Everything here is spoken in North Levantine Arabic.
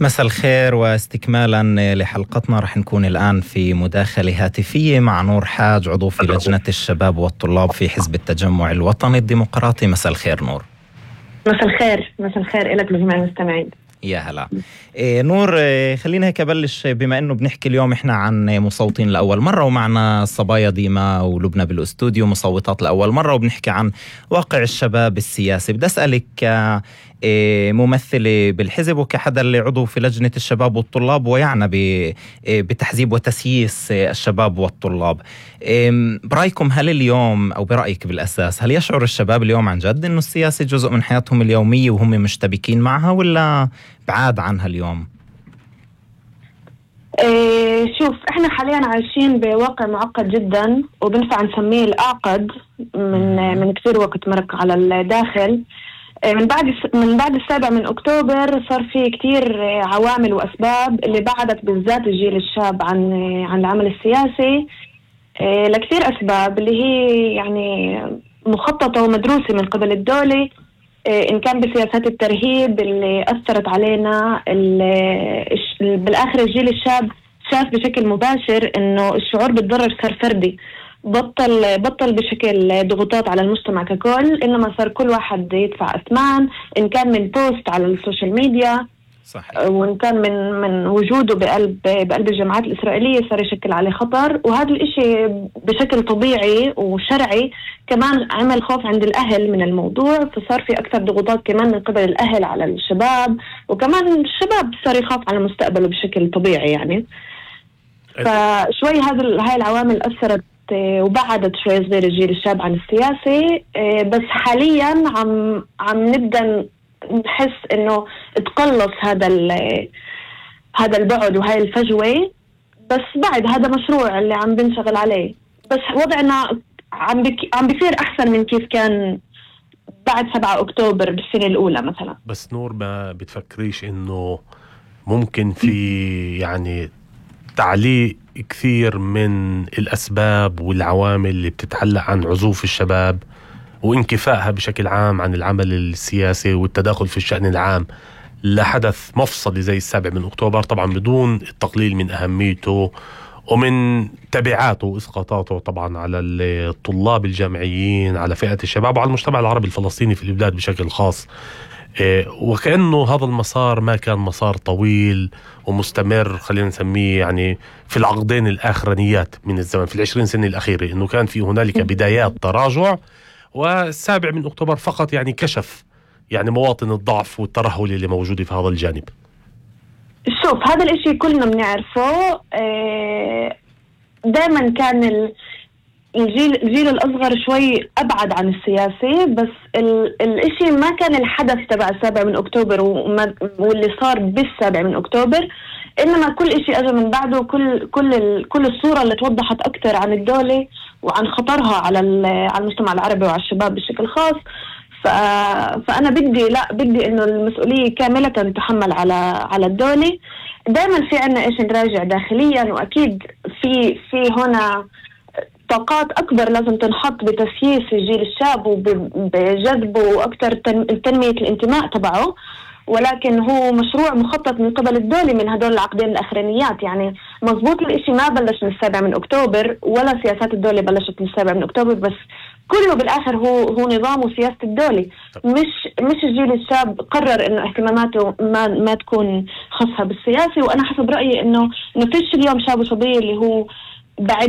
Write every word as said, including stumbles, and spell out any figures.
مساء الخير، واستكمالا لحلقتنا رح نكون الآن في مداخلة هاتفية مع نور حاج، عضو في لجنة الشباب والطلاب في حزب التجمع الوطني الديمقراطي. مساء الخير نور. مساء الخير. مساء الخير إلك لجميع المستمعين. يا هلا. إيه نور، إيه خلينا هيك أبلش، بما أنه بنحكي اليوم إحنا عن مصوتين لأول مرة، ومعنا صبايا ديما ولبنى بالأستوديو مصوتات لأول مرة، وبنحكي عن واقع الشباب السياسي. بدي أسألك إيه ممثلة بالحزب وكحدا اللي عضو في لجنة الشباب والطلاب ويعنى بتحزيب وتسييس الشباب والطلاب، إيه برأيكم هل اليوم أو برأيك بالأساس هل يشعر الشباب اليوم عن جد إنه السياسة جزء من حياتهم اليومية وهم مشتبكين معها، ولا بعاد عنها اليوم؟ إيه شوف، احنا حاليا عايشين بواقع معقد جدا، وبنفع نسميه الأعقد من من كثير وقت مرق على الداخل. إيه من بعد من بعد السابع من أكتوبر صار في كثير عوامل وأسباب اللي بعدت بالذات الجيل الشاب عن عن العمل السياسي، إيه لكثير أسباب اللي هي يعني مخططة ومدروسة من قبل الدولة، إن كان بسياسات الترهيب اللي أثرت علينا. بالآخر الجيل الشاب شاف بشكل مباشر إنه الشعور بالضرر صار فردي، بطل بطل بشكل ضغوطات على المجتمع ككل، إنما صار كل واحد يدفع أثمان، إن كان من بوست على السوشيال ميديا صحيح، وإن كان من من وجوده بقلب بقلب الجماعات الإسرائيلية صار يشكل عليه خطر. وهذا الإشي بشكل طبيعي وشرعي كمان عمل خوف عند الأهل من الموضوع، فصار في أكثر ضغوطات كمان من قبل الأهل على الشباب، وكمان الشباب صار يخاف على مستقبله بشكل طبيعي يعني. فشوي هذا هاي العوامل أثرت وبعدت شوي صغير الجيل الشاب عن السياسة، بس حاليا عم عم نبدأ نحس إنه تقلص هذا هذا البعد وهاي الفجوة، بس بعد هذا مشروع اللي عم بنشغل عليه، بس وضعنا عم بك عم بيصير أحسن من كيف كان بعد سبعة أكتوبر بالسنة الأولى مثلا. بس نور، ما بتفكريش إنه ممكن في يعني تعليق كثير من الأسباب والعوامل اللي بتتعلق عن عزوف الشباب وانكفائها بشكل عام عن العمل السياسي والتداخل في الشأن العام لحدث مفصلي زي السابع من أكتوبر، طبعا بدون التقليل من أهميته ومن تبعاته وإسقاطاته طبعا على الطلاب الجامعيين، على فئة الشباب وعلى المجتمع العربي الفلسطيني في البلاد بشكل خاص. وكأنه هذا المسار ما كان مسار طويل ومستمر، خلينا نسميه يعني في العقدين الآخرانيات من الزمن، في العشرين سنة الأخيرة، إنه كان في هنالك بدايات تراجع، والسابع من أكتوبر فقط يعني كشف يعني مواطن الضعف والترهل اللي موجودة في هذا الجانب. شوف، هذا الاشي كلنا بنعرفه. دائما كان الجيل الجيل الأصغر شوي أبعد عن السياسة، بس الاشي ما كان الحدث تبع السابع من أكتوبر واللي صار بالسابع من أكتوبر، إنما كل إشي أجى من بعده، كل كل كل الصورة اللي توضحت أكتر عن الدولة وعن خطرها على على المجتمع العربي وعلى الشباب بشكل خاص. ف فأنا بدي لا بدي إنه المسؤولية كاملة تحمل على على الدولة. دائما في عنا إيش نراجع داخليا، وأكيد في في هنا طاقات أكبر لازم تنحط بتسييس الجيل الشاب وبجذبه أكتر تنمية الانتماء تبعه، ولكن هو مشروع مخطط من قبل الدولة من هدول العقدين الأخرانيات. يعني مضبوط الاشي ما بلش من السابع من أكتوبر، ولا سياسات الدولة بلشت من السابع من أكتوبر، بس كله بالآخر هو هو نظام وسياسة الدولة، مش مش الجيل الشاب قرر إنه اهتماماته ما ما تكون خاصة بالسياسة. وأنا حسب رأيي إنه إنه فيش اليوم شاب وصبية اللي هو بعد